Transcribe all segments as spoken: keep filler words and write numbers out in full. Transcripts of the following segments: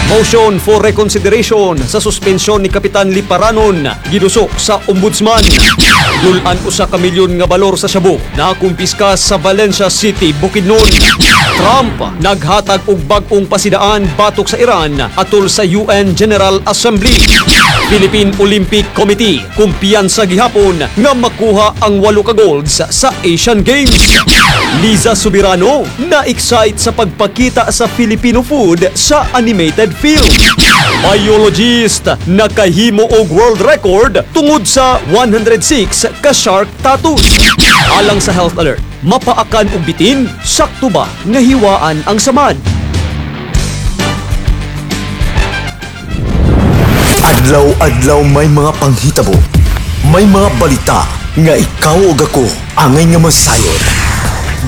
Motion for reconsideration sa suspensyon ni Kapitan Liparanon giduso sa Ombudsman. Dul-an usa ka milyon nga balor sa shabu nakumpiska sa Valencia City, Bukidnon. Trump naghatag og bag-ong pasidaan batok sa Iran atol sa U N General Assembly. Philippine Olympic Committee kumpiyansa gihapon nga makuha ang walo ka golds sa Asian Games. Liza Soberano na-excite sa pagpakita sa Filipino food sa animated film. Biologist nakahimo og world record tungod sa one hundred six ka shark tattoos. Alang sa health alert, mapaakan og bitin, sakto ba nga hiwaan ang samad? Adlaw-adlaw may mga panghitabo. May mga balita nga ikaw ug ako angay nga masayod.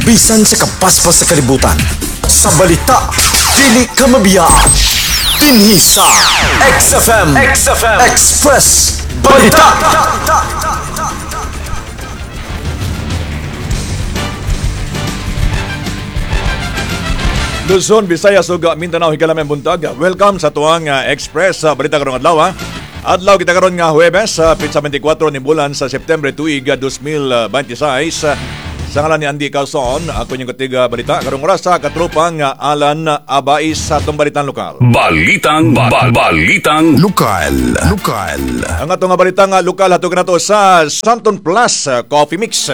Bisan sa kapaspas sa kalibutan. Sa balita, dili ka mabiyaan. Dinhi sa X F M, X F M Express Balita. Luzon, Visayas ug Mindanao, higalameng buntag. Welcome sa tuang uh, Express sa Balita karong adlaw. Ha? Adlaw kita karon nga Huwebes sa petsa twenty-four ni bulan sa September tuig twenty twenty-six. Sa ngalan ni Andy Calzon, ako inyong katiga balita karong oras sa katropang uh, Alan Abais sa atong balitang lokal. Balitang ba, balitang Lokal, lokal. Ang atong nga balitang uh, lokal, hatog nato sa Santon Plus uh, Coffee Mix.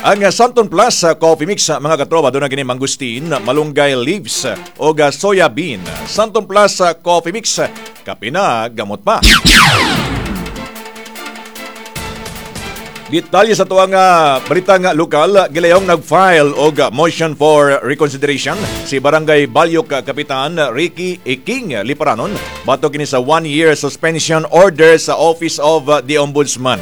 Ang uh, Santon Plus uh, Coffee Mix uh, mga katropa, doon na kini mangustin, malunggay leaves o uh, soya bean. Santon Plus uh, Coffee Mix, kape na, gamot pa. Detalye sa tuwang uh, balita nga lokal, gilayong nag-file og uh, motion for reconsideration si Barangay Balyok uh, Kapitan Ricky Iking Liparanon batok kini sa one-year suspension order sa Office of uh, the Ombudsman.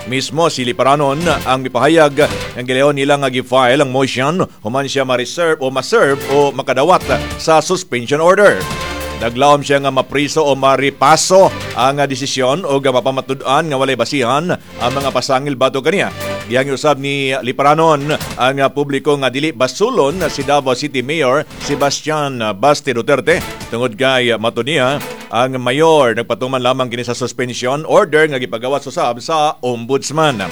Mismo si Liparanon ang mipahayag ng gilayon nila nga gi-file ang motion human siya ma-reserve o ma-serve o makadawat sa suspension order. Naglaom siya nga mapriso o maripaso ang desisyon o mapamatud-an nga walay basihan ang mga pasangil bato kaniya. Gihangyo usab ni Liparanon ang publiko nga dili basulon si Davao City Mayor Sebastian Basti Duterte tungod kay matud niya ang mayor nagpatuman lamang kini sa suspension order nga gipagawas usab sa Ombudsman.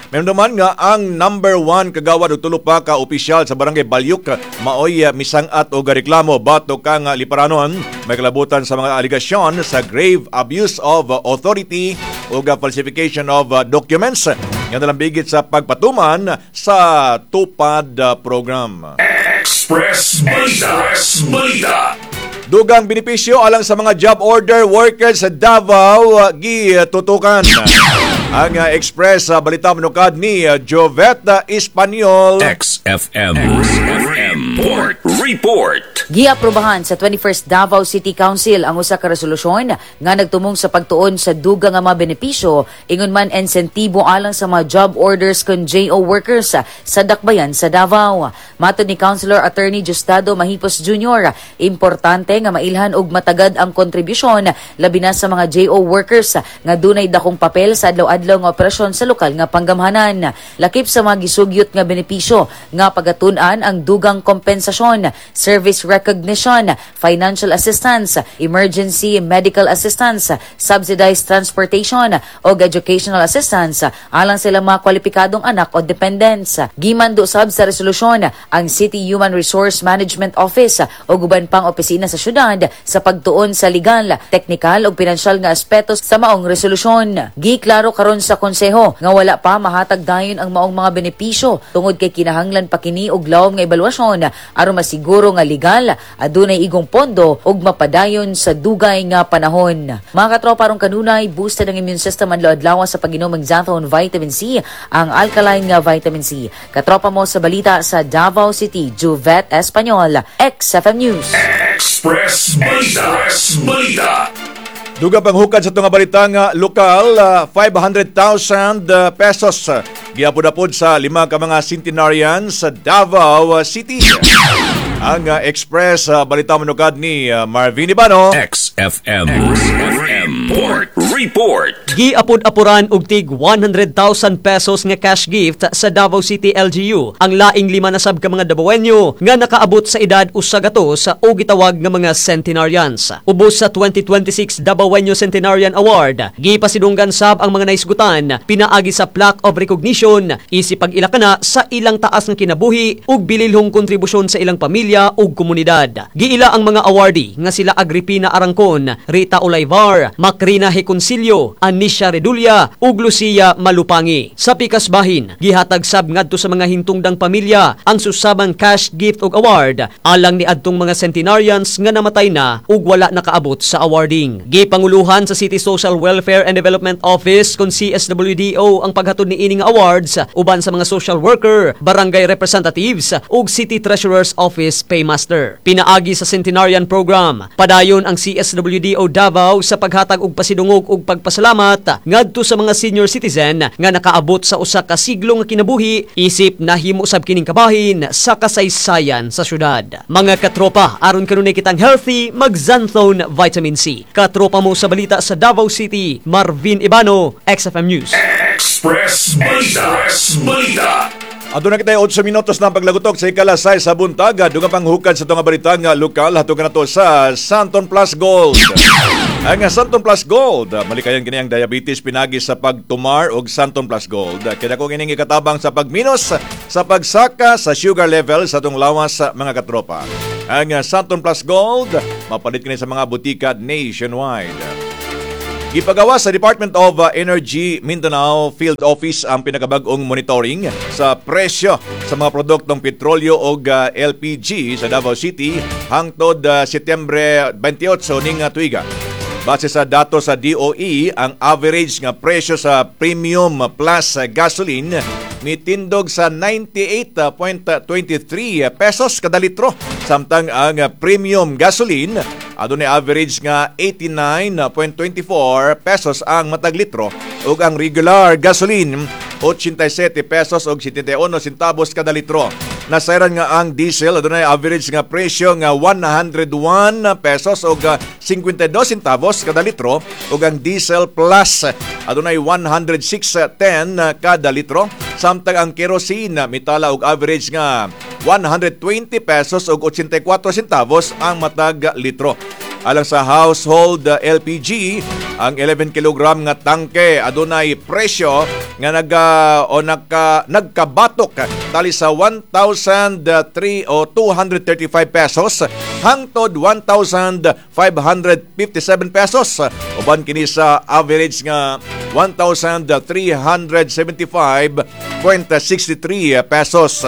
Meron nga ang number one kagawad og tulo pa ka opisyal sa Barangay Balyuk maoy misang-at og reklamo batok kang Liparanon may kalabutan sa mga aligasyon sa grave abuse of authority ug falsification of documents nga nalambigit sa pagpatuman sa TUPAD program. Express Balita. Express Balita. Dugang benepisyo alang sa mga job order workers sa Davao gitutukan. Ang uh, Express uh, Balita manukad ni uh, Joveta Espanyol. X F M. X F M Report. Report. Giaprobahan sa twenty-first Davao City Council ang usa ka resolusyon nga nagtumong sa pagtuon sa dugang nga mga benepisyo ingon man insentibo alang sa mga job orders kon J O workers sa dakbayan sa Davao. Matod ni Councilor Attorney Justado Mahipos Junior, importante nga mailhan og matagad ang kontribusyon labi na sa mga J O workers nga dunay dakong papel sa adlaw-adlaw nga operasyon sa lokal nga panggamhanan. Lakip sa mga gisugyot nga benepisyo nga pagatun-an ang dugang kompensasyon, service recognition, financial assistance, emergency medical assistance, subsidized transportation o educational assistance alang sila mga kwalipikadong anak o dependents. Gimando sab sa resolusyon ang City Human Resource Management Office o uban pang opisina sa syudad sa pagtuon sa legal, teknikal ug pinansyal nga aspeto sa maong resolusyon. Giklaro karon sa konseho nga wala pa mahatag dayon ang maong mga benepisyo tungod kay kinahanglan pa kini og lawom nga ebaluasyon aron masiguro nga legal, adunay igong pondo ug mapadayon sa dugay nga panahon. Mga katropa, aron kanunay boosted ang immune system adlaw-adlaw sa pag-inom ng Xanthone Vitamin C, ang alkaline nga vitamin C. Katropa mo sa balita sa Davao City, Juvet Espanyol, X F M News. Express Balita. Express Balita. Dugang panghukad sa itong balita nga lokal, uh, five hundred thousand uh, pesos uh, giapod-apod sa lima ka mga centenarian sa Davao City. Ang uh, Express uh, Balita manukad ni uh, Marvin Ibano. X F M. X F M. X F M Port Report. Giapod-apuran og tig one hundred thousand pesos nga cash gift sa Davao City L G U ang laing lima na sab ka mga Dabawenyo nga nakaabot sa edad usa gatos o gitawag nga mga centenarians. Ubos sa twenty twenty-six Dabawenyo Centenarian Award, gipasidunggan sab ang mga naisgutan pinaagi sa plaque of recognition isip pag-ilakana sa ilang taas nga kinabuhi ug bililhong kontribusyon sa ilang pamilya ug komunidad. Giila ang mga awardee nga sila Agripina Arangkon, Rita Olayvar, Macrina Heconcilio, Anisha Redulia ug Lucia Malupangi. Sa pikas bahin, gihatag sab ngadto sa mga hintungdang pamilya ang susabang cash gift ug award alang ni adtong mga centenarians nga namatay na ug wala nakaabot sa awarding. Gipanguluhan sa City Social Welfare and Development Office kon C S W D O ang paghatod ni ining awards uban sa mga social worker, barangay representatives ug City Treasurer's Office Paymaster. Pinaagi sa Centenarian Program, padayon ang C S W D O Davao sa paghatag og pasidungog ug pagpasalamat ngadto sa mga senior citizen nga nakaabot sa usa ka siglo nga kinabuhi isip nahimo sab kining kabahin sa kasaysayan sa syudad. Mga katropa, aron kanunay kitang healthy, mag-Xanthone Vitamin C. Katropa mo sa balita sa Davao City, Marvin Ibano, X F M News. Express Balita. Express Balita. Aduna kita otso minutos na paglagutok sa ikalas sais sa buntag. Dugang panghukad sa itong balita nga lokal, hatog na to sa Xanthone Plus Gold. Ang Xanthone Plus Gold, malikayan kini ang diabetes pinagi sa pagtumar og Xanthone Plus Gold. Kaya kung ining ikatabang sa pagminos sa pagsaka sa sugar level sa atong lawas, mga katropa. Ang Xanthone Plus Gold, mapalit kini sa mga butika nationwide. Gipagawa sa Department of uh, Energy Mindanao Field Office ang pinakabag-ong monitoring sa presyo sa mga produktong petrolyo o uh, L P G sa Davao City hangtod uh, Setyembre twenty-eight ning uh, tuiga. Base sa dato sa D O E, ang average nga presyo sa premium plus gasoline mitindog sa ninety-eight point two three pesos kada litro. Samtang ang premium gasoline adunay average nga eighty-nine point two four pesos ang matag litro ug ang regular gasoline eighty-seven pesos ug seventy-one centavos kada litro. Nasayran nga ang diesel adunay average nga presyo nga one hundred one pesos ug fifty-two centavos kada litro ug ang diesel plus adunay one hundred six point one zero kada litro, samtang ang kerosene mitala og average nga one hundred twenty pesos ug eighty-four centavos ang matag litro. Alang sa household uh, L P G, ang eleven kilogram nga tangke adunay presyo nga naga o nagka, nagkabatok tali sa one thousand three o two hundred thirty-five pesos hangtod one thousand five hundred fifty-seven pesos. Uban kini sa average nga one thousand three hundred seventy-five point six three pesos.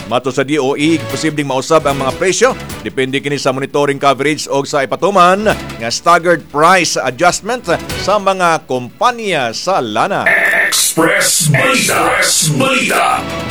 Matod sa D O E, posibleng mausab ang mga presyo depende kini sa monitoring coverage o sa ipatuman nga staggered price adjustment sa mga kumpanya sa lana. Express Balita. Express Balita.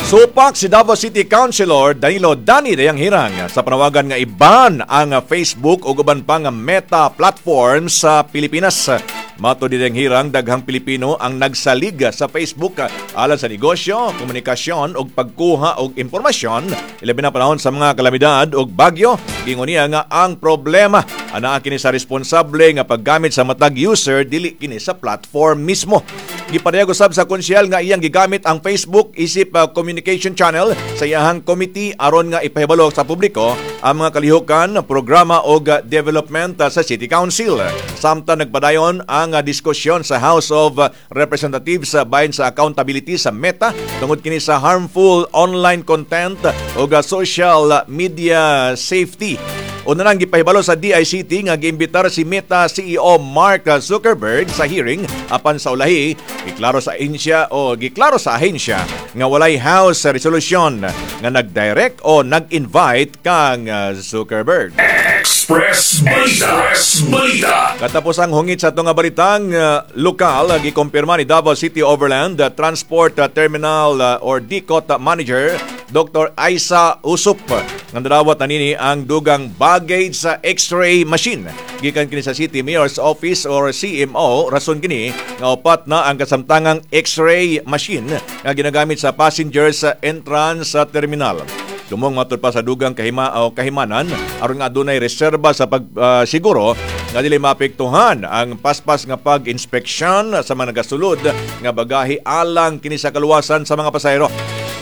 Supak si Davao City Councilor Danilo Danny Dayanghirang sa panawagan nga i-ban ang Facebook ug uban pa nga Meta platform sa Pilipinas. Matod ni Dayanghirang, daghang Pilipino ang nagsalig sa Facebook alang sa negosyo, komunikasyon ug pagkuha og impormasyon, ilabi na panahon sa mga kalamidad ug bagyo. Ingon niya nga ang problema anaa kini sa responsable nga paggamit sa matag user, dili kini sa platform mismo. Gipadayag usab sa konsehal nga iyang gigamit ang Facebook isip uh, communication channel sa iyahang committee aron nga ipahibalo sa publiko ang mga kalihukan, programa og uh, development uh, sa City Council. Samtang nagpadayon ang uh, diskusyon sa House of Representatives uh, bahin sa accountability sa Meta tungod kini sa harmful online content ug uh, social media safety. Una nang gipahibalo sa D I C T nga giimbitar si Meta C E O Mark Zuckerberg sa hearing, apan sa ulahi giklaro sa ahensya o giklaro sa ahensya nga walay House resolution nga nag-direct o nag-invite kang uh, Zuckerberg. Express Balita. Express Balita. Katapos ang hungit sa atong nga balitang uh, lokal, gikumpirma ni Davao City Overland uh, Transport uh, Terminal uh, or D C O T Manager Doctor Aisa Usup nga nadawat na nini ang dugang baggage sa X-ray machine gikan kini sa City Mayor's Office or C M O. Rason kini nga upat na ang kasamtangang X-ray machine nga ginagamit sa passengers sa entrance sa terminal. Tumong matud pa sa dugang kahima o kahimanan aron nga adunay reserba sa pagsiguro. nga dili maapektuhan ang paspas nga pag-inspeksyon sa mga nagasulod nga bagahe alang kini sa kaluwasan sa mga pasahero.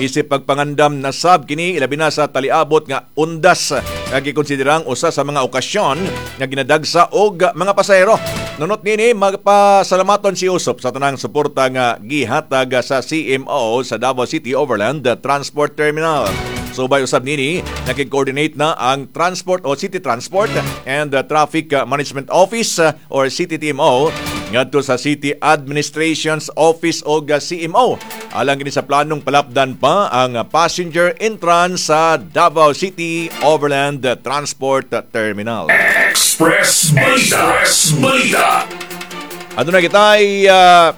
Isip pagpangandam na sab kini, ilabi na sa taliabot nga Undas nga gikonsiderang usa sa mga okasyon nga ginadagsa og mga pasahero. Nunot nini, magpasalamaton si Usop sa tanang suporta nga gihatag sa C M O sa Davao City Overland Transport Terminal. Subay usab nini, nakig-coordinate na ang Transport o City Transport and Traffic Management Office or C T T M O ngadto sa City Administration's Office o C M O. Alang kini sa planong palapdan pa ang passenger entrance sa Davao City Overland Transport Terminal. Express Balita. Express Balita. Aduna kita ay ah,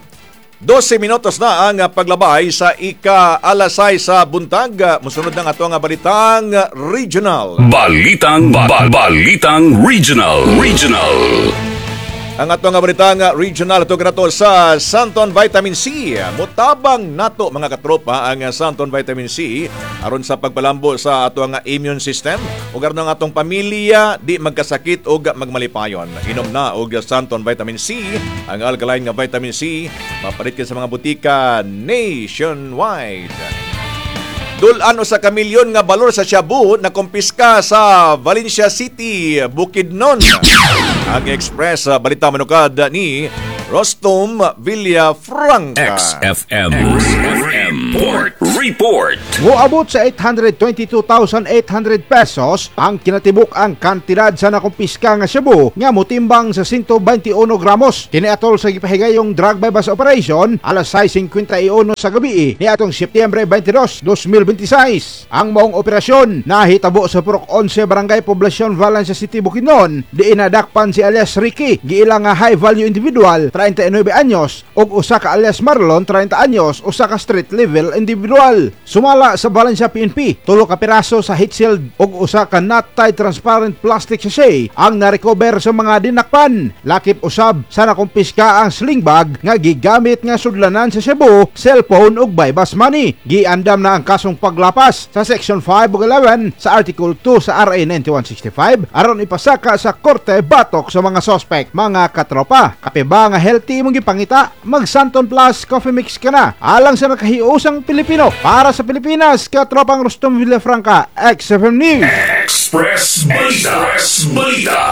dose minutos na ang paglabay sa ika alas sais sa buntag. Musunod ng ato nga balitang regional. Balitang ba, Balitang Regional. Regional. Ang ato nga balitang regional ato nato sa Santon Vitamin C. Mutabang nato, mga katropa, ang Santon Vitamin C aron sa pagpalambo sa ato nga immune system ug aron ang atong pamilya di magkasakit ug magmalipayon. Inom na og Santon Vitamin C, ang alkaline nga vitamin C, mapalit sa mga butika nationwide. Dul-an usa ka milyon nga balor sa shabu na kumpiska sa Valencia City, Bukidnon. Ang Express uh, Balita manukad ni Rostom Villafranca. X F M. X F M Port Report. Moabot sa eight hundred twenty-two thousand eight hundred pesos ang kinatibuk ang kantidad sa nakumpiska nga shabu nga motimbang sa one hundred twenty-one gramos. Kini atol sa gipahigayong drug buy-bust operation alas sais singkwenta y uno sa gabi ni atong Setyembre twenty-two, twenty twenty-six. Ang maong operasyon nahitabo sa Purok eleven, Barangay Poblacion, Valencia City, Bukidnon, diin nadakpan si alias Ricky, giila nga high value individual, treinta y nuebe anyos, ug usa ka alias Marlon, treinta anyos, usa ka street level individual. Sumala sa Valencia P N P, tulo ka piraso sa heat shield ug usa ka knot-tied transparent plastic sachet ang narecover sa mga dinakpan. Lakip usab sa nakumpiska ang sling bag nga gigamit nga sudlanan sa shabu, cellphone ug buy-bust money. Giandam na ang kasong paglapas sa Section five ug eleven sa Article two sa R A ninety-one sixty-five aron ipasaka sa korte batok sa mga sospek. Mga katropa, kape ba nga healthy mong gipangita? Mag Santon Plus Coffee Mix ka na. Alang sa nakahiusang Pilipino. Para sa Pilipinas, katropang Rustom Villafranca, X F M News. Express Balita. Express Balita.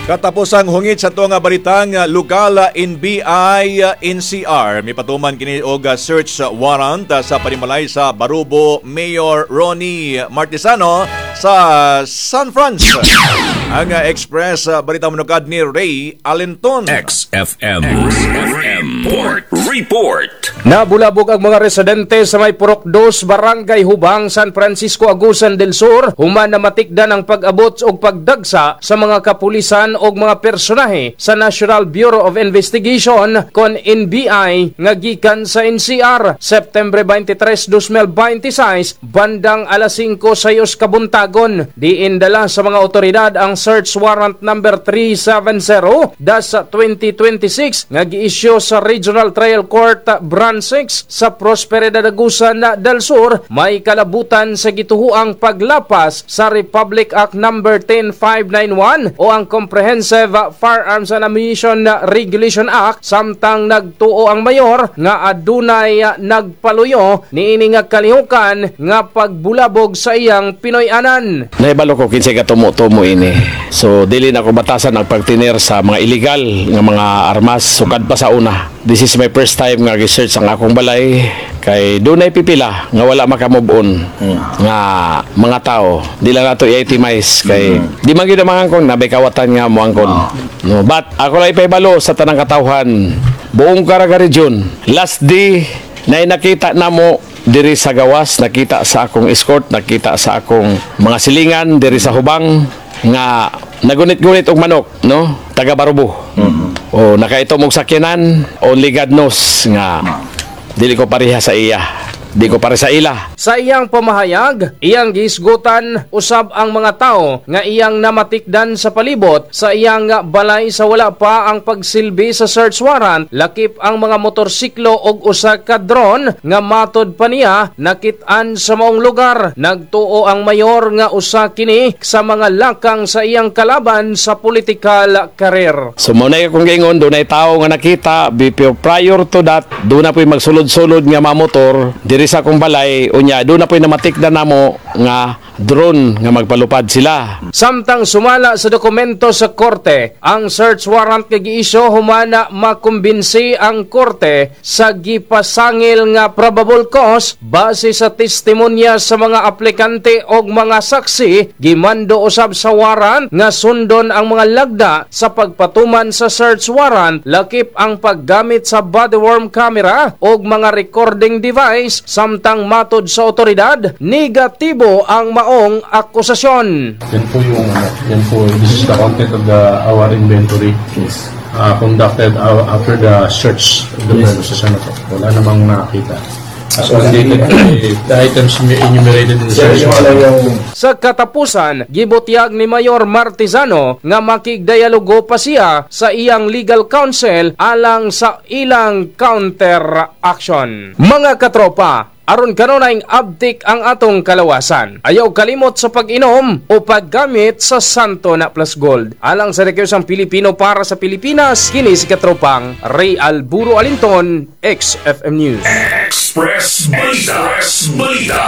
Katapusang hungit sa nga balitang uh, lokal, uh, N B I uh, N C R mipatuman kini og uh, search warrant uh, sa panimalay sa Barubo Mayor Ronnie Martisano sa San Franz. Ang uh, Express uh, Balita manukad ni Ray Alenton. X F M. X F M Port Report. Nabulabog ang mga residente sa may Purok dos, Barangay Hubang, San Francisco, Agusan del Sur, human na matikdan ang pag-abot og pagdagsa sa mga kapulisan og mga personahe sa National Bureau of Investigation kon N B I nga gikan sa N C R September twenty-three, twenty twenty-six bandang alas singko sayos kabuntagon. Diin dala sa mga otoridad ang search warrant number three seventy dash twenty twenty-six nga giisyu sa Regional Trial Court Branch six sa Prosperidad, Agusan del Sur, may kalabutan sa gituhuang paglapas sa Republic Act number ten five ninety-one o ang Comprehensive Firearms and Ammunition Regulation Act, samtang nagtuo ang mayor nga adunay nagpaluyo niini nga kalihukan nga pagbulabog sa iyang Pinoy-anan. Nahibalo ko kinsay katumo-tumo ini. So dili na ko batasan ang pagtiner sa mga illegal nga mga armas sukad pa sa una. This is my first time nga gi-search ang akong balay kay dunay pipila nga wala maka-move on nga mga tao. Di lang nato i-itemize kay di man gyud ang mga angkon nabay kawatan nga moangkon. No, but ako lang ipahibalo sa tanang katawhan buong Caraga Region. Last day na nakita namo diri sa gawas, nakita sa akong escort, nakita sa akong mga silingan diri sa Hubang nga nagunit-gunit og manok, no, taga Barubo. O nakaitom og sakyanan, only God knows nga dili ko pareha sa iya. Di ko para sa ila. Sa iyang pamahayag, iyang gihisgutan usab ang mga tao nga iyang namatikdan sa palibot sa iyang balay sa wala pa ang pagsilbi sa search warrant, lakip ang mga motorsiklo og usa ka drone nga matod pa niya nakit-an sa maong lugar. Nagtuo ang mayor nga usa kini sa mga lakang sa iyang kalaban sa political career. So mao na akong giingon, dunay tao nga nakita before, prior to that, duna po'y magsulod-sulod nga mga motor diri sa akong balay. Unya duna po'y namatikdan namo nga drone nga magpalupad sila. Samtang sumala sa dokumento sa korte, ang search warrant kay giisyu humana makumbinsi ang korte sa gipasangil nga probable cause base sa testimonya sa mga aplikante og mga saksi. Gimando usab sa warrant nga sundon ang mga lagda sa pagpatuman sa search warrant, lakip ang paggamit sa body worn camera og mga recording device, samtang matod sa otoridad, negatibo ang maong akusasyon. Yan po yung ano, yan po, this is the content of the our inventory. Yes. Uh, conducted uh, after the search of the premises, ano po. Wala namang nakita. As mandated by the items enumerated in the search warrant. Sa katapusan, gibutyag ni Mayor Martizano nga makigdialogo pa siya sa iyang legal counsel alang sa ilang counter action. Mga katropa, aron kanunayng abtik ang atong kalawasan, ayaw kalimot sa pag-inom o paggamit sa Santo na Plus Gold. Alang sa Rekyosang Pilipino para sa Pilipinas, kini si katropang Ray Alburo Alinton, X F M News. Express Balita. Express Balita.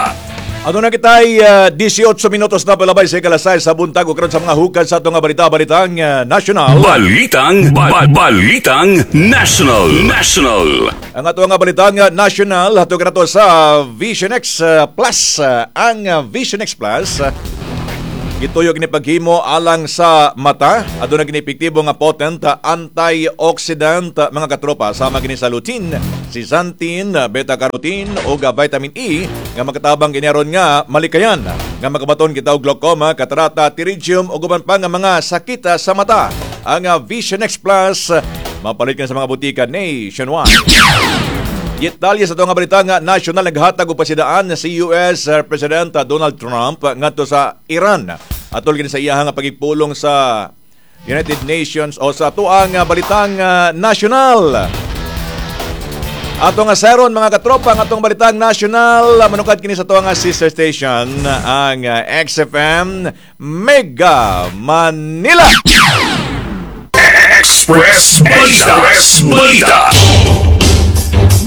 Aduna kita'y uh, eighteen minutos na palabay sa ikalas sais sa buntag ug karon sa mga hukad sa atong nga balita, balitang uh, national. Balitang ba- Balitang National. National. Ang ato nga balitang uh, national hatog nato sa Vision X uh, Plus. Uh, ang uh, Vision X Plus uh, gituyo kini paghimo alang sa mata. Aduna kini epektibo nga potent uh, antioxidant, uh, mga katropa, sama kini sa lutein, zeaxanthin, uh, beta-carotene ug uh, vitamin E nga makatabang kini aron nga malikayan nga makabaton kita og glaucoma, katarata, pterygium ug uban pa nga mga sakit uh, sa mata. Ang uh, Vision X Plus uh, mapalit ka sa mga butika nationwide. Detalye sa nga balita nga national, naghatag og pasidaan si U S President Donald Trump ngadto sa Iran. Atol kini sa iyahang pagigpulong sa United Nations o sa atuang balitang ah, national. Ato nga seron, mga katropa, ang atong balitang national manukad kini sa atuang sister station, ang ah, X F M Mega Manila. Express Balita. Express Balita.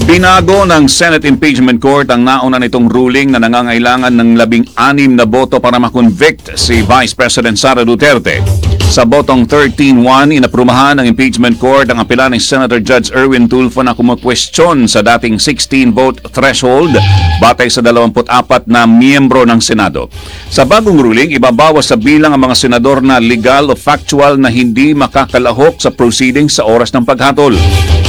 Binago ng Senate Impeachment Court ang nauna nitong ruling na nangangailangan ng labing-anim na boto para makonvict si Vice President Sara Duterte. Sa botong thirteen one, inaprubahan ng Impeachment Court ang apela ni Senator Judge Erwin Tulfo na kumukwestiyon sa dating sixteen-vote threshold batay sa dalawampu't apat na miyembro ng Senado. Sa bagong ruling, ibabawas sa bilang ang mga senador na legal o factual na hindi makakalahok sa proceedings sa oras ng paghatol.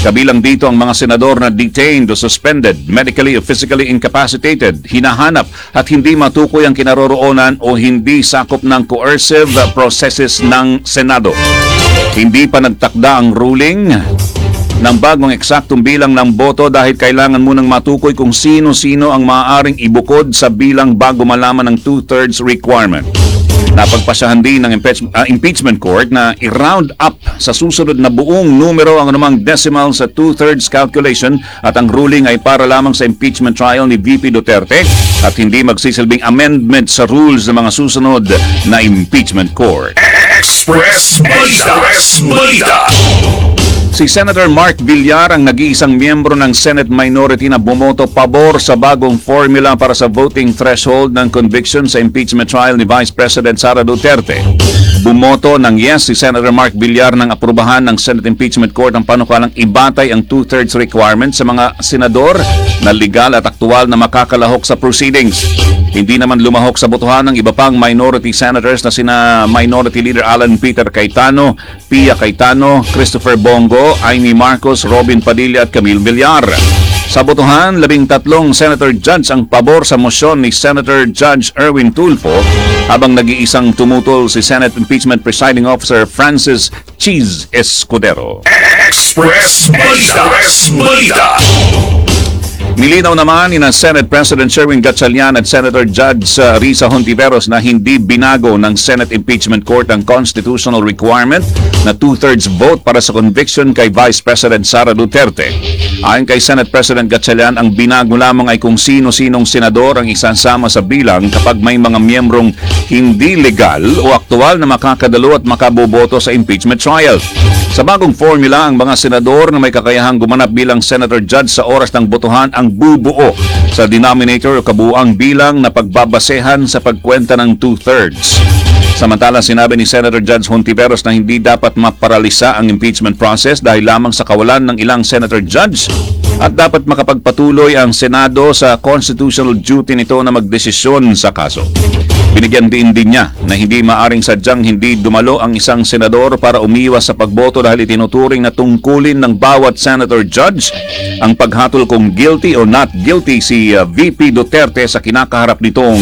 Kabilang dito ang mga senador na detained o suspended, medically o physically incapacitated, hinahanap at hindi matukoy ang kinaroroonan o hindi sakop ng coercive processes ng Senado. Hindi pa nagtakda ang ruling ng bagong eksaktong bilang ng boto dahil kailangan munang matukoy kung sino-sino ang maaaring ibukod sa bilang bago malaman ang two-thirds requirement. Napagpasyahan din ng impeach- ah, impeachment court na i-round up sa susunod na buong numero ang anumang decimal sa two-thirds calculation at ang ruling ay para lamang sa impeachment trial ni V P Duterte at hindi magsisilbing amendment sa rules ng mga susunod na impeachment court. Express Balita. Express Balita. Si Senator Mark Villar ang nag-iisang miyembro ng Senate minority na bumoto pabor sa bagong formula para sa voting threshold ng conviction sa impeachment trial ni Vice President Sara Duterte. Bumoto ng yes si Senator Mark Villar nang aprubahan ng Senate Impeachment Court ang panukalang ibatay ang two-thirds requirement sa mga senador na legal at aktual na makakalahok sa proceedings. Hindi naman lumahok sa botohan ng iba pang minority senators na sina Minority Leader Alan Peter Cayetano, Pia Cayetano, Christopher Bong Go, Imee Marcos, Robin Padilla at Camille Villar. Sa botohan, labing tatlong senator judge ang pabor sa mosyon ni Senator Judge Erwin Tulfo habang nag-iisang tumutol si Senate Impeachment Presiding Officer Francis Chiz Escudero. Express Balita. Express Balita. Nilinaw naman ni na Senate President Sherwin Gatchalian at Senator Judge uh, Risa Hontiveros na hindi binago ng Senate Impeachment Court ang constitutional requirement na two-thirds vote para sa conviction kay Vice President Sara Duterte. Ayon kay Senate President Gatchalian, ang binago lamang ay kung sino-sinong senador ang isasama sa bilang kapag may mga miyembrong hindi legal o aktual na makakadalo at makaboboto sa impeachment trial. Sa bagong formula, ang mga senador na may kakayahang gumanap bilang senator judge sa oras ng botohan ang bubuo sa denominator o kabuuang bilang na pagbabasehan sa pagkwenta ng two-thirds. Samantala, sinabi ni Senator Judge Hontiveros na hindi dapat maparalisa ang impeachment process dahil lamang sa kawalan ng ilang senator judge at dapat makapagpatuloy ang Senado sa constitutional duty nito na magdesisyon sa kaso. Binigyan din din niya na hindi maaring sadyang hindi dumalo ang isang senador para umiwas sa pagboto dahil itinuturing na tungkulin ng bawat senator judge ang paghatol kung guilty or not guilty si uh, V P Duterte sa kinakaharap nitong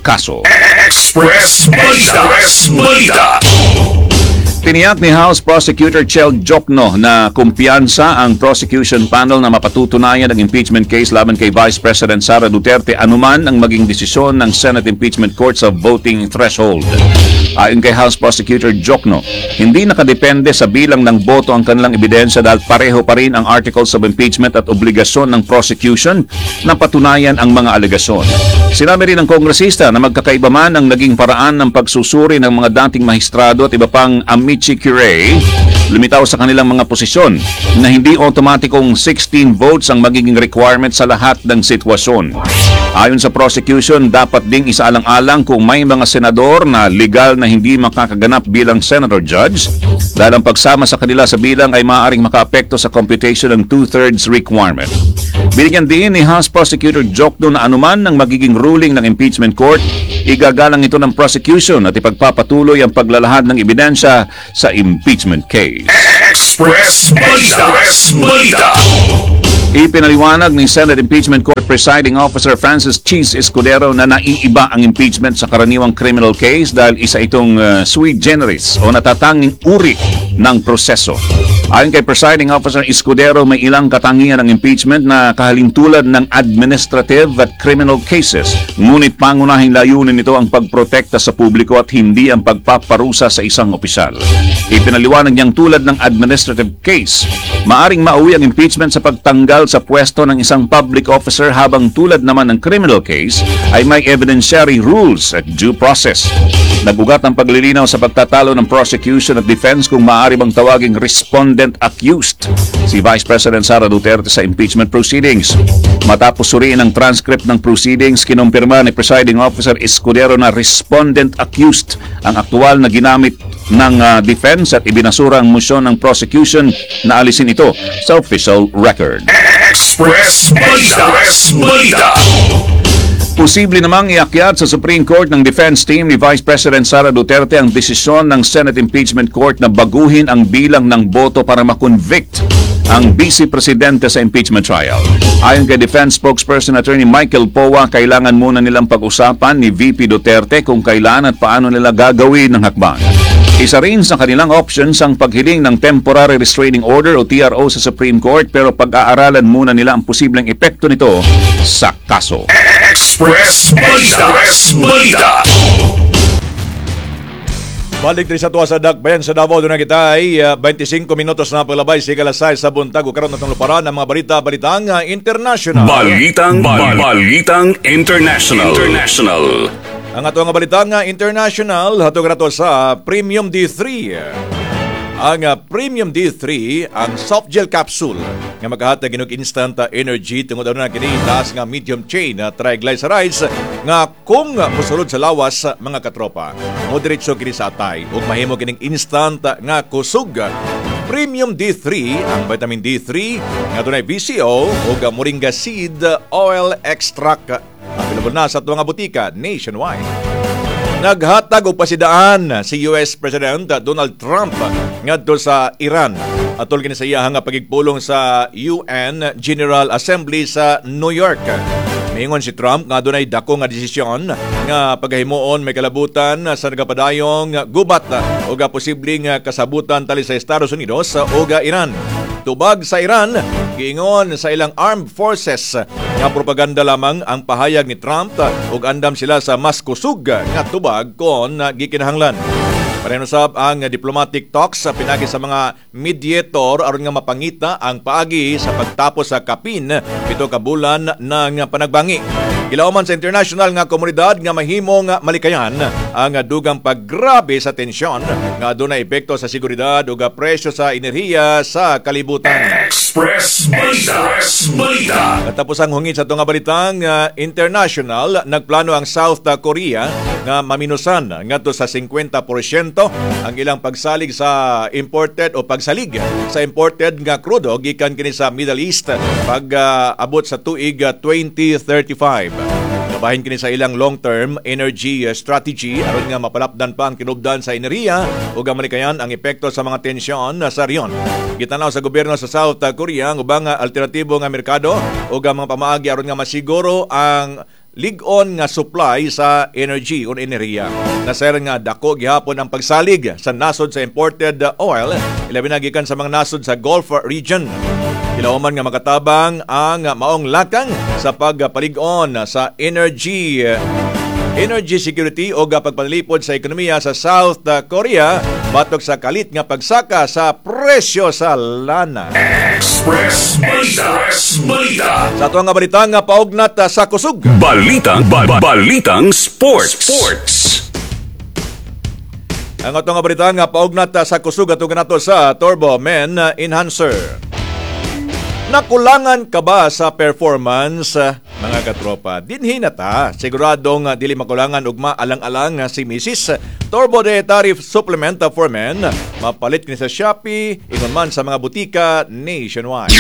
kaso. Express Balita. Express Balita. Tiniyak ni House Prosecutor Chel Diokno na kumpiyansa ang prosecution panel na mapatutunayan ang impeachment case laban kay Vice President Sara Duterte anuman ang maging desisyon ng Senate Impeachment Court sa voting threshold. Ayon kay House Prosecutor Diokno, hindi nakadepende sa bilang ng boto ang kanilang ebidensya dahil pareho pa rin ang articles of impeachment at obligasyon ng prosecution na patunayan ang mga alegasyon. Sinabi rin ng kongresista na magkakaiba man ang naging paraan ng pagsusuri ng mga dating mahistrado at iba pang amici curiae, lumitaw sa kanilang mga posisyon na hindi otomatikong sixteen votes ang magiging requirement sa lahat ng sitwasyon. Ayon sa prosecution, dapat ding isaalang-alang kung may mga senador na legal na hindi makakaganap bilang senator judge dahil ang pagsama sa kanila sa bilang ay maaaring makaapekto sa computation ng two-thirds requirement. Binigyan din ni House Prosecutor Diokno na anuman ang magiging ruling ng impeachment court, igagalang ito ng prosecution at ipagpapatuloy ang paglalahad ng ebidensya sa impeachment case. Express Balita. Express Balita. Ipinaliwanag ni Senate Impeachment Court Presiding Officer Francis Chiz Escudero na naiiba ang impeachment sa karaniwang criminal case dahil isa itong uh, sui generis o natatanging uri ng proseso. Ayon kay Presiding Officer Escudero, may ilang katangian ng impeachment na kahalintulad ng administrative at criminal cases. Ngunit pangunahing layunin nito ang pagprotekta sa publiko at hindi ang pagpaparusa sa isang opisyal. Ipinaliwanag niyang tulad ng administrative case, maaring mauwi ang impeachment sa pagtanggal sa pwesto ng isang public officer, habang tulad naman ng criminal case ay may evidentiary rules at due process. Nag-ugat ang paglilinaw sa pagtatalo ng prosecution at defense kung maaari bang tawaging respondent accused si Vice President Sara Duterte sa impeachment proceedings. Matapos suriin ang transcript ng proceedings, kinumpirma ni Presiding Officer Escudero na respondent accused ang aktual na ginamit ng ah, defense at ibinasura ang motion ng prosecution na alisin ito sa official record. Express Balita. Express Balita. Posible namang iakyat sa Supreme Court ng defense team ni Vice President Sara Duterte ang desisyon ng Senate Impeachment Court na baguhin ang bilang ng boto para makonvict ang Vice Presidente sa impeachment trial. Ayon kay Defense Spokesperson Attorney Michael Poa, kailangan muna nilang pag-usapan ni V P Duterte kung kailan at paano nila gagawin ang hakbang. Isa rin sa kanilang options ang paghiling ng Temporary Restraining Order o T R O sa Supreme Court, pero pag-aaralan muna nila ang posibleng epekto nito sa kaso. Express Balita. Express Balita. Balik diri sa tuwa sa Dakbayan sa Davao, doon na kita ay uh, twenty-five minutos na paglabay sa ikalas sais sa buntag. Ug karon natong luparan ang mga balita balitang uh, international. Balitang bal- Balitang International. International. Ang ato nga balitang uh, international hatog rato sa Premium D three. Ang uh, Premium D three, ang soft gel capsule nga makahatag og instant uh, energy tungod na kini taas nga medium chain uh, triglycerides nga kung mosulod sa lawas, uh, mga katropa, mo diretso kini sa atay ug mahimo kining instant uh, nga kusog. Premium D three, ang vitamin D three nga dunay V C O ug uh, moringa seed oil extract, available na sa atuang botika nationwide. Naghatag og pasidaan si U S President Donald Trump ngadto sa Iran atol kini sa iyahang pagigpulong sa U N General Assembly sa New York. Miingon si Trump nga dunay dako nga desisyon nga pagahimuon may kalabutan sa nagapadayong gubat o posibleng kasabutan tali sa Estados Unidos o Iran. Tubag sa Iran, giingon sa ilang armed forces Nga propaganda lamang ang pahayag ni Trump ug andam sila sa mas kusog nga tubag kon gikinahanglan. Pareho usab ang diplomatic talks sa pinagi sa mga mediator aron nga mapangita ang paagi sa pagtapos sa kapin pito ka bulan ng panagbangi. Gilauman sa international nga komunidad nga mahimong malikayan ang dugang paggrabe sa tensyon nga adunay epekto sa seguridad ug presyo sa enerhiya sa kalibutan. Express Balita. Express Balita. Katapos ang hungit sa tunga balitang uh, international, nagplano ang South Korea nga maminusan ngadto sa singkwenta porsyento ang ilang pagsalig sa imported o pagsalig sa imported nga krudo gikan kini sa Middle East pag uh, abot sa tuig uh, twenty thirty-five. Kabahin kini sa ilang long-term energy strategy aron nga mapalapdan pa ang kinubdan sa enerhiya ug malikayan ang epekto sa mga tensyon sa rehiyon. Gitanaw sa gobyerno sa South Korea ang ubang alternatibo nga merkado ug ang mga pamaagi aron nga masiguro ang lig-on nga supply sa energy o enerhiya. Nasayran nga dako gihapon ang pagsalig sa nasod sa imported oil, ilabi na gikan sa mga nasod sa Gulf region. Gilauman nga makatabang ang maong lakang sa pagpalig-on sa energy energy security o pagpanalipod sa ekonomiya sa South Korea batok sa kalit nga pagsaka sa presyo sa lana. Express Balita. Express Balita. Sa ato nga balita nga paugnat sa kusog. Balitang ba, Balitang Sports. Sports. Ang ato nga balita nga paugnat sa kusog ato nato sa Turbo Men Enhancer. Nakulangan ka ba sa performance, mga katropa? Dinhi na ta. Siguradong dili makulangan ugma alang-alang si Missus Turbo Dietary Supplement for Men. Mapalit kini sa Shopee, ingon man sa mga butika nationwide.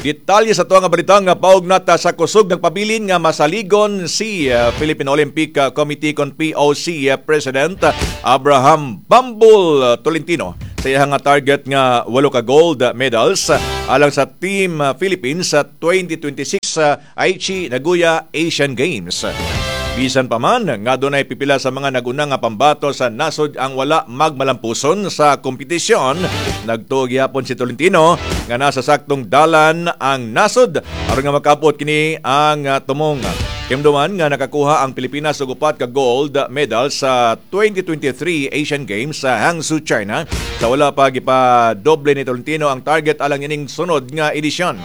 Detalye sa tuwang nga balita nga paugnat sa kusog. Nagpabilin nga masaligon si uh, Philippine Olympic Committee kon P O C uh, President Abraham Bambol Tolentino sa iyang nga target nga walo ka gold medals alang sa Team Philippines sa twenty twenty-six Aichi Nagoya Asian Games. Bisan pa man nga dunay pipila sa mga naguna nga pambato sa nasod ang wala magmalampuson sa kompetisyon, nagtuo gihapon si Tolentino nga nasa saktong dalan ang nasod aron nga makapot kini ang uh, tumong. Kimduman nga nakakuha ang Pilipinas og upat ka gold medal sa twenty twenty-three Asian Games sa Hangzhou, China, sa wala pa gipa-doble ni Tolentino ang target alang ining sunod nga edisyon.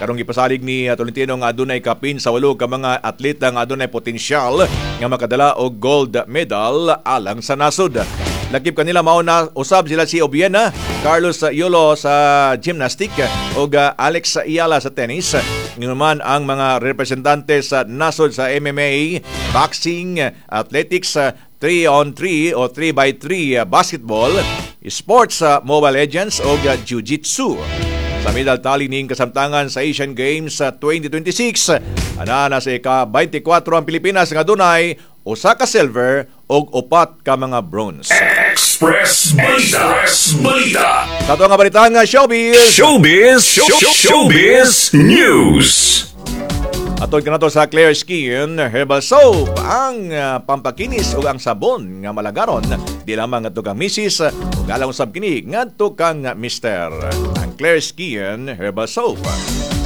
Karong gipasalig ni uh, Tolentino nga adunay kapin sa walo ka mga atleta nga adunay potensyal nga makadala og gold medal alang sa nasod. Lakip kanila mao na usab sila si Obiena, Carlos Yulo sa gymnastic ug uh, Alex Eala sa tennis. Ngayon ang mga representante sa nasod sa M M A, boxing, athletics, three on three o three by three basketball, sports sa Mobile Legends ug Jiu-Jitsu. Sa medal tally ning kasamtangan sa Asian Games sa twenty twenty-six, ana na sa ika twenty-four ang Pilipinas nga dunay usa ka silver ug upat ka mga bronze. Express Balita. Express Balita. Sa ato nga balita nga showbiz. Showbiz. Showbiz News. Atod kanato sa Clear Skin Herbal Soap, ang uh, pampakinis ug ang sabon nga malagaron di lamang ngadto kang misis ug alang usab kini ngadto kang mister. Ang Clear Skin Herbal Soap.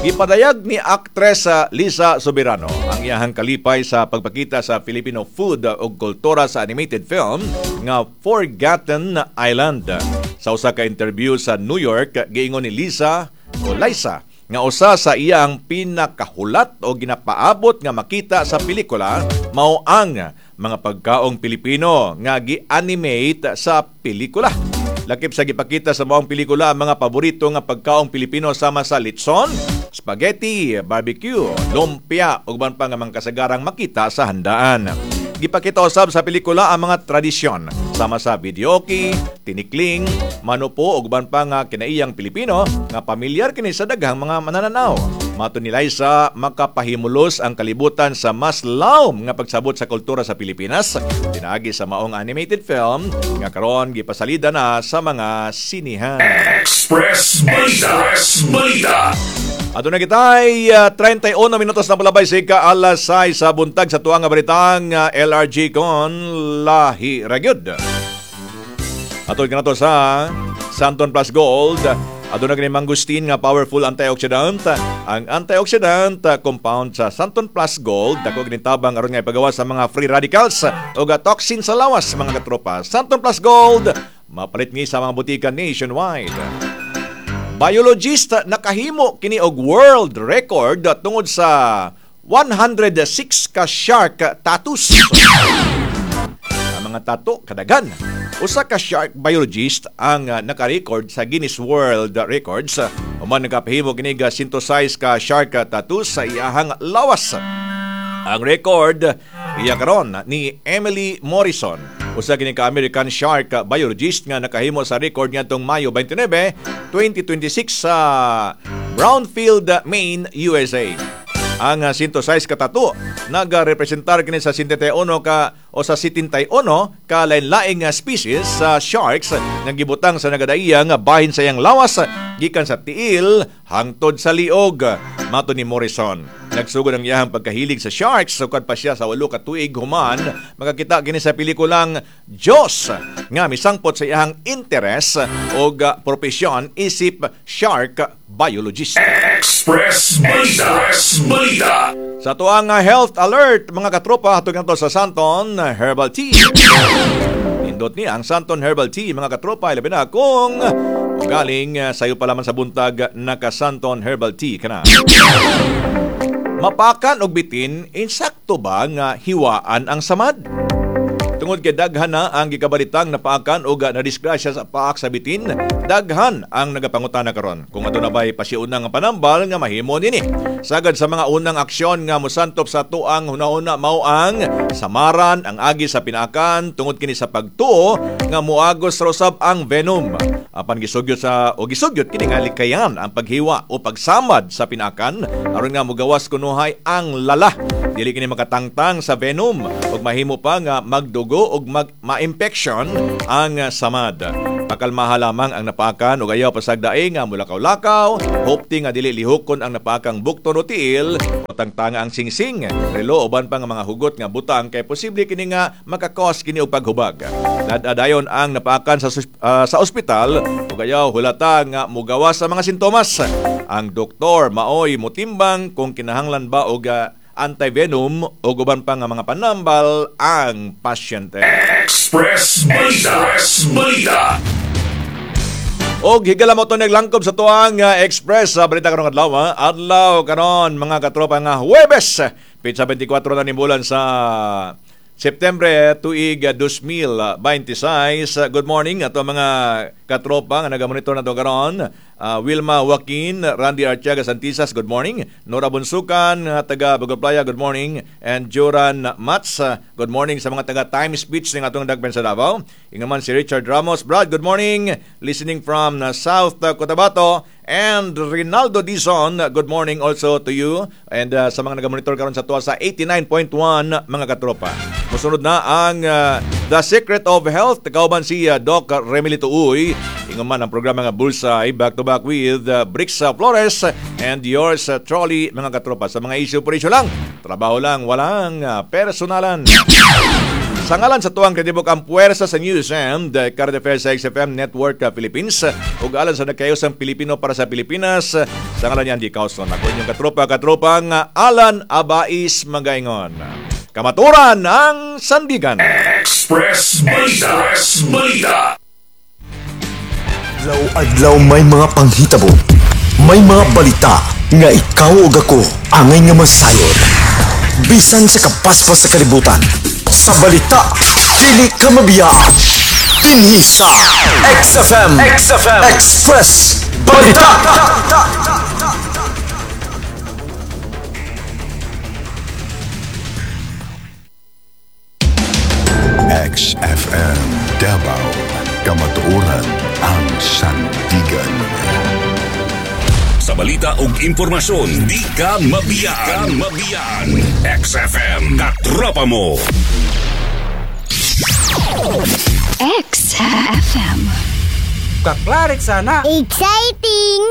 Gipadayag ni aktresa Liza Soberano ang iyahang kalipay sa pagpakita sa Filipino food ug kultura sa animated film nga Forgotten Island. Sa usa ka interview sa New York, giingon ni Lisa o Liza nga usa sa iyang pinakahulat o ginapaabot nga makita sa pelikula mao ang mga pagkaong Pilipino nga gi-animate sa pelikula. Lakip sa gipakita sa maong pelikula ang mga paborito nga pagkaong Pilipino sama sa litson, spaghetti, barbecue, lumpia ug uban pa nga mga kasagarang makita sa handaan. Gipakita usab sa pelikula ang mga tradisyon sama sa videoke, tinikling, manupo ug uban pa nga kinaiyang Pilipino nga pamilyar kini sa daghang mga manananaw. Matod ni Liza, makapahimulos ang kalibutan sa mas lawom nga pagsabot sa kultura sa Pilipinas pinaagi sa maong animated film nga karon gipasalida na sa mga sinihan. Express Balita. Express Balita. Aduna kitay uh, trenta'y uno minutos na palabay sa ika alas sais sa buntag sa tuang nga balitang uh, L R G con lahi ra gyud. Atod kanato sa Santon Plus Gold. Aduna kini mangosteen nga powerful antioxidant. Ang antioxidant compound sa Santon Plus Gold dako kini tabang aron nga ipagawa sa mga free radicals ug toxin sa lawas mga katropa. Santon Plus Gold mapalit ni sa mga butika nationwide. Biologist nakahimo kini og world record tungod sa one hundred six ka shark tattoos. Ang mga tattoo kadaghan. Usa ka shark biologist ang uh, naka-record sa Guinness World Records. Human nakapahimo kini ga synthesize ka shark tattoos sa iyahang lawas. Ang record iya karon ni Emily Morrison. Usa kini ka American shark biologist nga nakahimo sa record ngadtong Mayo twenty-nine, twenty twenty-six sa Brownfield, Maine, U S A. Ang synthesize ka tattoo nagarepresentar kini sa setenta y uno ka o sa setenta y uno ka lain-laing species sa sharks nga gibutang sa nagadaiya nga bahin sa iyang lawas gikan sa tiil hangtod sa liog. Mato ni Morrison, nagsugod ang iyahang pagkahilig sa sharks sukad pa siya sa walo ka tuig human makakita kini sa pelikulang Jaws nga misangpot sa iyahang interes og propesyon isip shark biologist. Express Balita. Express Balita. Sa tuang health alert mga katropa, hatog nato sa Santon Herbal Tea. Nindot ni ang Santon Herbal Tea mga katropa, ilabi na kung galing sayo pa lamang sa buntag naka Santon Herbal Tea kana. Mapakan og bitin, insakto ba nga hiwaan ang samad? Tungod kay daghan na ang gikabalitang napaakan og nadisgrasya sa paak sa bitin, daghan ang nagapangutana karon kung aduna bay pasiunang nga panambal nga mahimo nini. Sagad sa mga unang aksyon nga mosantop sa tuang hunahuna mao ang samaran ang agi sa pinaakan tungod kini sa pagtuo nga moagos ra usab ang venom. Apan gisugyot sa o gisugyot kini nga likayan ang paghiwa o pagsamad sa pinaakan aron nga mogawas kunuhay ang lala. Dili kini makatangtang sa venom ug mahimo pa nga magdugo og mag ma-infection ang samad. Pakalmaha lamang ang napaakan ug ayaw pasagdae nga mulakaw-lakaw, hopti nga dili lihokon ang napaakang bukton o tiil o tangtanga ang singsing, relo uban pa nga mga hugot nga butang kay posible kini nga makakos kini og paghubag. Dadadayon ang napaakan sa uh, sa ospital ug ayaw hulata nga mugawas sa mga sintomas. Ang doktor maoy motimbang kung kinahanglan ba og uh, anti-venom o uban pa nga mga panambal ang pasyente. Express Balita. Express Balita. Og higala mo ito naglangkob sa tuang uh, Express sa balita karong adlaw. Adlaw karon mga katropa nga Huwebes, petsa twenty-four na ni bulan sa Septembre tuig two mil twenty-six. Good morning ato mga katropa nga nagamonitor na to karon. Uh, Wilma Joaquin, Randy Artiaga Santisas, good morning. Nora Bunsukan, taga Bagoplaya, good morning. And Joran Mats, good morning sa mga taga Times Beach ng atong dagpen sa Davao. Ingaman si Richard Ramos, Brad, good morning. Listening from South Cotabato. And Rinaldo Dizon, good morning also to you. And uh, sa mga nagamonitor karon sa tuwa sa eighty-nine point one mga katropa. Musunod na ang uh, The Secret of Health. Kauban si uh, Doc Remilito Uy. Ingaman ang programa nga Bullseye, back to back with uh, Brix Flores and yours uh, trolley mga katropa. Sa mga issue por issue lang, trabaho lang, walang uh, personalan. Sa ngalan sa tuwang kritibok ang puwersa sa News and uh, Current Affairs sa X F M Network uh, Philippines ug alan sa nagkayos ang Pilipino para sa Pilipinas. Sa ngalan ni Andy Causon, ako inyong katropa-katropang Alan Abais Magaingon. Kamaturan ang sandigan. Express Balita. Express Balita. Adlaw-adlaw may mga panghitabo, may mga balita nga ikaw ug ako angay nga masayod. Bisan sa kapaspas sa kalibutan, sa balita dili ka mabiyaan. Dinhi sa X F M, X F M Express Balita. X F M Davao, kamatuoran ang sandigan. Sa balita ug impormasyon, di ka mabiyaan. Di ka mabiyaan. X F M, katropa mo. X F M. Kaklarik sana. Exciting!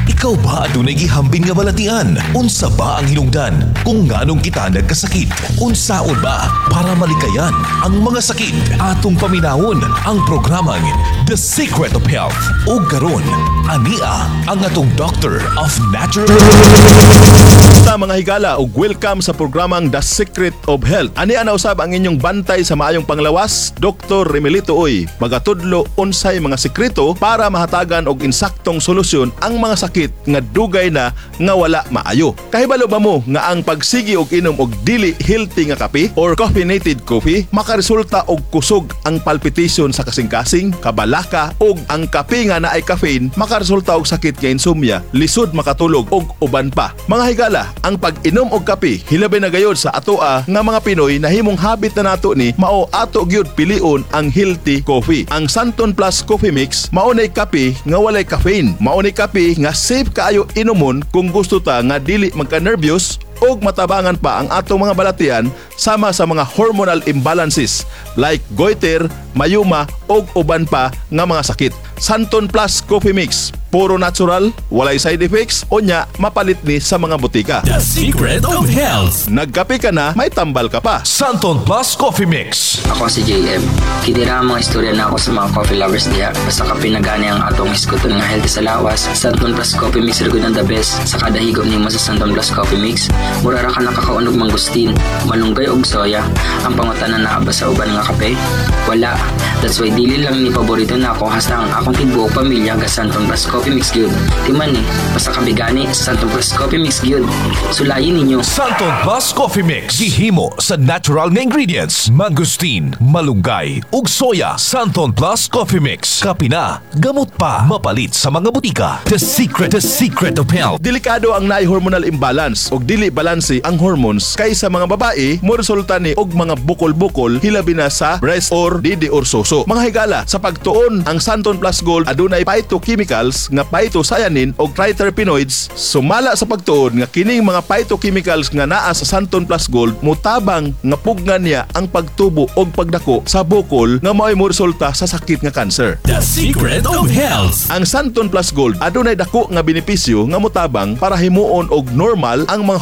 Ikaw ba adunay gihambin nga balatian? Unsa ba ang hinungdan kung nganong kita nagkasakit? Unsaon ba para malikayan ang mga sakit? Atong paminawon ang programang The The Secret of Health. Ug karon, ania ang atong Doctor of Natural Ta mga higala ug welcome sa programang The Secret of Health. Ani na usab ang inyong bantay sa maayong panglawas, Doctor Remelito Uy. Magatudlo unsay mga sekreto para mahatagan og insaktong solusyon ang mga sakit nga dugay na nga wala maayo. Kahibalo ba mo nga ang pagsigi og inom og dili healthy nga kape or caffeinated coffee makaresulta og kusog ang palpitation sa kasing-kasing, kabalaka ug ang kape nga naay caffeine makaresulta og sakit nga insomnia, lisod makatulog ug uban pa. Mga higala, ang pag-inom og kape hilabi na gayod sa atoa nga mga Pinoy nahimong habit na nato ni mao ato gyud pilion ang healthy coffee. Ang Santon Plus Coffee Mix mao nay kape nga walay caffeine. Mao nay kape nga safe kaayo inomon kung gusto ta nga dili magka-nervyos ug matabangan pa ang atong mga balatian sama sa mga hormonal imbalances like goiter, myoma ug uban pa nga mga sakit. Santon Plus Coffee Mix, puro natural, walay side effects, unya mapalit ni sa mga botika. The Secret of Health. Nagkape ka na, may tambal ka pa. Santon Plus Coffee Mix. Ako si J M. Kini ra ang mga istorya na ako sa mga coffee lovers diha. Basta kape na gani ang atong hisguton nga healthy sa lawas. Santon Plus Coffee Mix ra gud ang the best. Sa kada higop nimo sa Santon Plus Coffee Mix, mura ra ka nakakaon og mangustin, malunggay og soya. Ang pangutana, naa ba sa uban nga kape? Wala. That's why dili lang ni paborito nako, hasta ang akong tibuok pamilya ga Santon Plus Coffee Mix gyud. Timan ni, basta kape gani, Santon Plus Coffee Mix gyud. Sulayin ninyo. Santon Plus Coffee Mix. Gihimo sa natural nga ingredients. Mangosteen, malunggay, ug soya. Santon Plus Coffee Mix. Kape na, gamot pa. Mapalit sa mga botika. The Secret, The Secret of Health. Delikado ang naay hormonal imbalance og dili balanse ang hormones kay sa mga babae mo resulta ni og mga bukol-bukol hilabi na sa breast or didi or suso. Mga higala, sa pagtuon ang Santon Plus Gold adunay phytochemicals nga phytocyanin og triterpenoids, sumala sa pagtuon nga kining mga phytochemicals nga naa sa Santon Plus Gold mutabang nga pugnan niya ang pagtubo og pagdako sa bukol nga mao'y mo resulta sa sakit nga cancer. The Secret of Health. Ang Santon Plus Gold adunay dako nga benepisyo nga motabang para himuon og normal ang mga